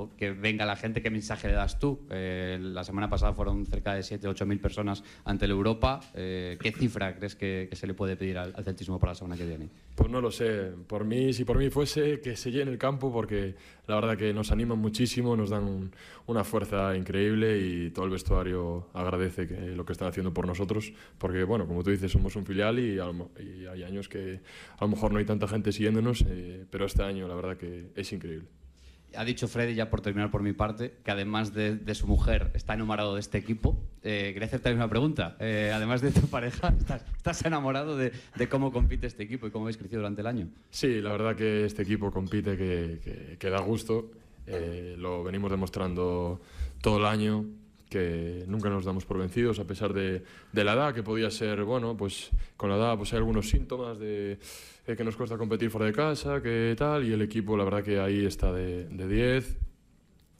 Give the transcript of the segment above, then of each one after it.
cuando que venga la gente, ¿qué mensaje le das tú? La semana pasada fueron cerca de 7.000 o 8.000 personas ante la Europa. ¿Qué cifra crees que se le puede pedir al celtismo para la semana que viene? Pues no lo sé. Por mí, si por mí fuese, que se llene el campo, porque la verdad que nos animan muchísimo, nos dan una fuerza increíble y todo el vestuario agradece lo que están haciendo por nosotros, porque, bueno, como tú dices, somos un filial y hay años que a lo mejor no hay tanta gente siguiéndonos, pero este año la verdad que es increíble. Ha dicho Freddy, ya por terminar por mi parte, que además de su mujer está enamorado de este equipo. Quería hacerte una pregunta. Además de tu pareja, ¿estás enamorado de cómo compite este equipo y cómo habéis crecido durante el año? Sí, la verdad que este equipo compite que da gusto. Lo venimos demostrando todo el año, que nunca nos damos por vencidos a pesar de la edad, que podía ser, bueno, pues con la edad pues hay algunos síntomas de que nos cuesta competir fuera de casa, que tal, y el equipo la verdad que ahí está de 10.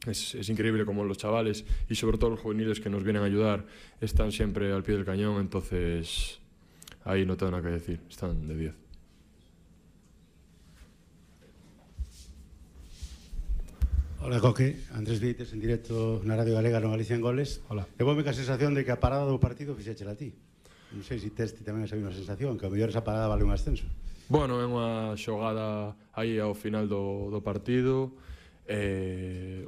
Es increíble como los chavales y sobre todo los juveniles que nos vienen a ayudar están siempre al pie del cañón, entonces ahí no tengo nada que decir, están de 10. Hola, Coque. Andrés Vieites, en directo na Radio Galega no Galicia en Goles. Hola. Eu voume ca sensación de que a parada do partido fixéchela a ti. Non sei se tes tamén esa mesma sensación, que ao mellor esa parada vale un ascenso. Bueno, é unha xogada aí ao final do partido,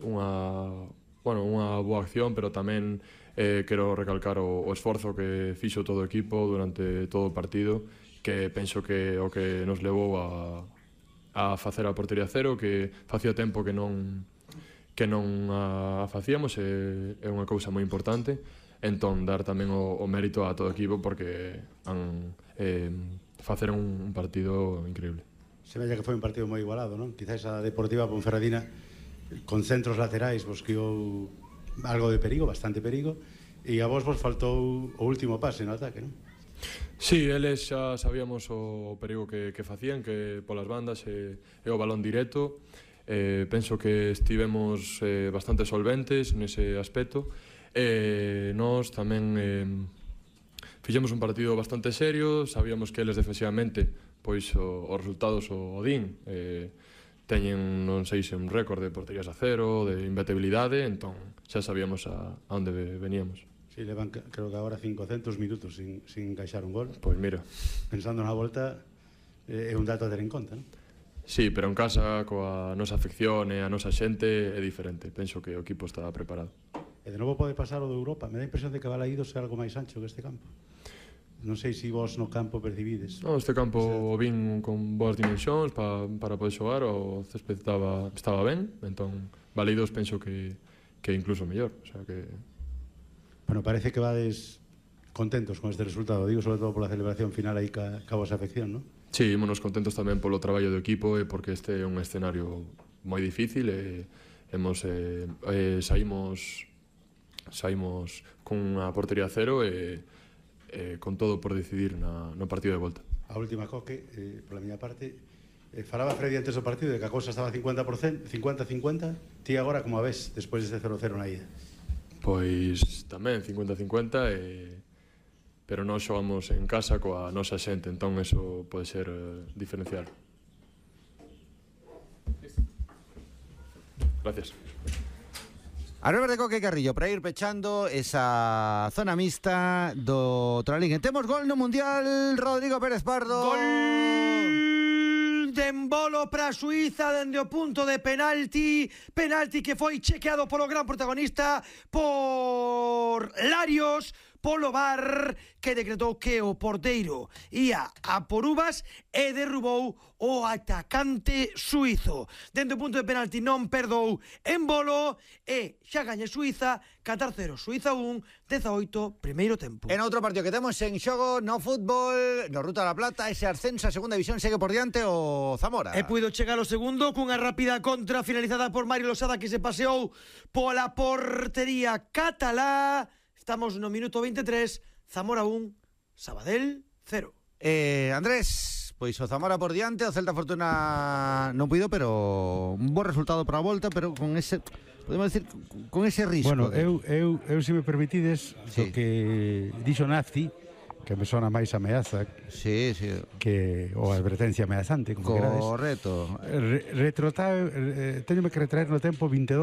unha boa acción, pero tamén quero recalcar o esforzo que fixo todo o equipo durante todo o partido, que penso que o que nos levou a facer a portería cero, que facía tempo que non a facíamos, é unha cousa moi importante. Entón, dar tamén o mérito a todo o equipo porque facer un partido increíble. Se vella que foi un partido moi igualado, non? Quizás a Deportiva Ponferradina con centros laterais vos criou algo de perigo, bastante perigo, e a vos faltou o último pase no ataque, non? Sí, eles xa sabíamos o perigo que facían, que polas bandas e o balón directo. Penso que estivemos bastante solventes nese aspecto. Nós tamén fixemos un partido bastante serio, sabíamos que eles defensivamente pois os resultados o din teñen, non sei se un récord de porterías a cero, de imbatibilidade, entón xa sabíamos a onde veníamos. Sí, levan creo que agora 500 minutos sin encaixar un gol. Pois mira, pensando na volta é un dato a ter en conta, non? Sí, pero en casa coa nosa afección e a nosa xente é diferente. Penso que o equipo está preparado. E de novo pode pasar o de Europa. Me dá a impresión de que Balaídos é algo máis ancho que este campo. Non sei se vos no campo percibides. No, este campo o vin con boas dimensións para poder xogar, o césped estaba ben, entón Balaídos penso que incluso mellor, o sea que... Bueno, parece que vades contentos con este resultado, digo, sobre todo pola celebración final aí ca vosa afección, non? Sí, ímonos contentos tamén polo traballo do equipo e porque este é un escenario moi difícil e saímos con unha portería cero e con todo por decidir no partido de volta. A última, Coque, pola miña parte, falaba Freddy antes do partido de que a cousa estaba 50%, 50-50, ti agora como a ves despois deste 0-0 na ida? Pois tamén 50-50 pero nós xogamos en casa coa nosa xente, entón eso pode ser diferencial. Gracias. Albert de Coque Carrillo, para ir pechando esa zona mixta do Tralín. Temos gol no Mundial, Rodrigo Pérez Pardo. Gol de Embolo para Suiza dende o punto de penalti que foi chequeado polo gran protagonista, por Larios, polo VAR, que decretou que o porteiro ia a por uvas e derrubou o atacante suizo. Dentro do punto de penalti non perdou Embolo e xa gaña Suiza 4-0, Suiza 1, 18, primeiro tempo. En outro partido que temos en xogo no fútbol, no Ruta da Plata, ese ascenso a segunda división segue por diante o Zamora. E puido chegar o segundo cunha rápida contra finalizada por Mario Losada, que se paseou pola portería catalá. Estamos no minuto 23, Zamora 1, Sabadell 0. Andrés, pois o Zamora por diante, o Celta Fortuna non puido, pero un bo resultado para a volta, pero con ese, podemos decir, con ese risco. Bueno, eu se me permitides, sí, o que dixo Nazi, que me sona máis ameaza, sí, que ou advertencia ameazante, como correcto. querades. Teñome que retraer no tempo 22